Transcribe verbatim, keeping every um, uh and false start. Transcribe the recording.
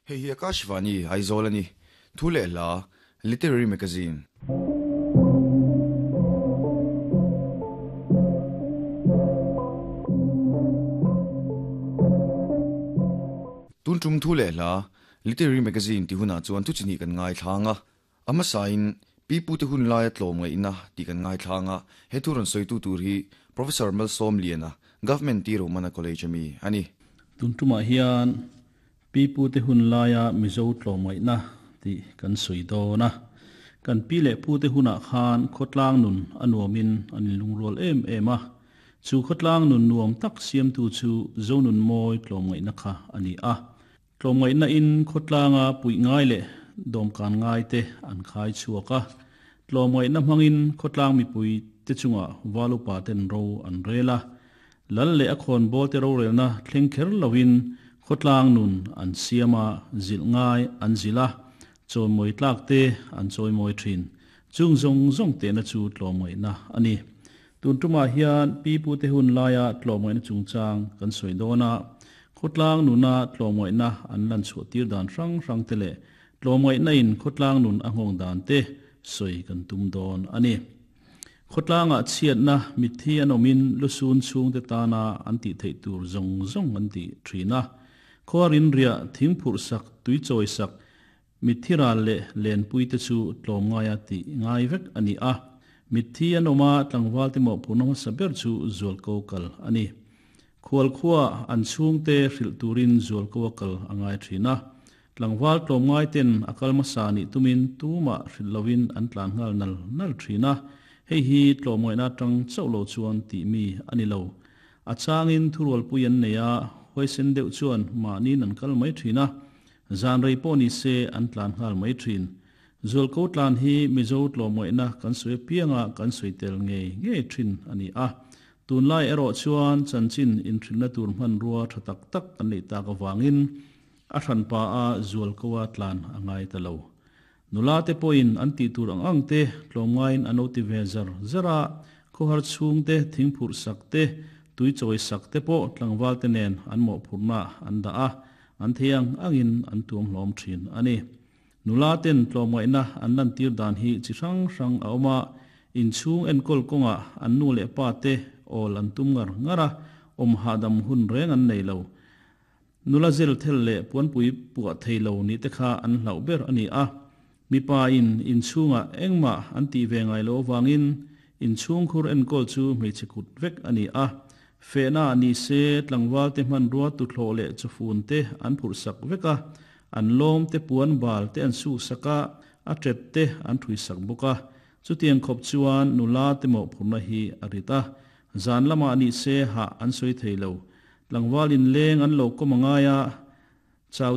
Hei hi Akashvani Aizawl ani thu leh hla Literary Magazine. Tun tum thu leh hla Literary Magazine ti hunah chuan thu chini kan ngai thlanga ama sain pi pu te hun laia tlawm ngai ina ti kan ngai thlanga he thu ron soitu tur hi Professor Malsom Liana Government Ti Romana College ami ani. Tun tuma hian pi pu te hun laia Mizo tlawm ngai na ti kan sui do na kan pi le pu te huna khan khotlang nun anuamin an lungrol em em a chu khotlang nun nuam tak siam tu chu zonun moi tlawm ngai na kha ani a tlawm ngai na in khotlanga pui ngai le dom kan ngai te an khai chuaka tlawm ngai na mangin khotlang mi pui te chunga walu pa ten ro an rela lal le a khon bol te ro rel na thleng kher lowin khotlang nun an siama zil ngai an zila choi moi tlak te an choi moi thin chung zong zong te na chu tlawm ngai na ani. Tun tuma hian pi pu te hun laia tlawm ngai na chungchang kan soi dona khotlang nuna tlawm ngai na an lan chu tir dan rang rang te le tlawm ngai na in khotlang nun a ngong dan te soi kan tum don ani. Khotlanga chiat na mithi an omin lusun chung te ta na an ti thei tur zong zong an ti thina khorin ria thingphur sak tui choi sak mithira le len pui te chu tlawm ngaia ti ngai vek ani a mithi an oma tlangwal te mo punom saber chu zual ko kal ani. Khual khuwa an chung te hril turin zual ko kal angai thina tlangwal tlawm ngai ten akal ma sa ni tumin tuma hril lovin an tlan ngal nal nal thina hei hi tlawm ngai na tang chaulo chuan ti mi ani lo a changin thurwal puian neya hoisen deuh chuan ma ni nan kal mai thina zan rei pawh ni se an tlan nghal mai thin zual ko tlan hi Mizo tlawm ngai na kan sui pianga kan sui tel nge nge thin ani a tun lai erawh chuan chanchin in thin na tur hman rua tha tak tak kan nei tak awangin a hran pa a zual ko a tlan angai ta lo nula te pawhin an ti tur ang ang te tlawm ngaiin an lo ti ve zar zara khawhar chhung te thingphur sak te tui chawi sak te pawh tlangwal te nen an mawh phurna an dah a an theiang angin an tuam hlawm thin ani. Nula ten tlawm ngai na an lan tir dan hi chi hrang hrang a awma inchhung enkawl kawnga an nu leh pa te awl an tum ngar ngara awm hahdam hun reng an nei lo nula zel thel leh puanpui puah thei lo ni te kha an hlauh ber ani a mipa in inchhunga engmah an ti ve ngai lo wangin inchhung khur enkawl chu hmeichhe kut vek ani a fehna ni se tlangwal te hman rua tu thlo le chufun te an phur sak veka an lom te puan bal te an su saka a tret te an thui sak buka chutiang khop chuan nula te mo phurna hi arita zan lama ni se ha an soi theilo tlangwal in leng an lo komangaya chaw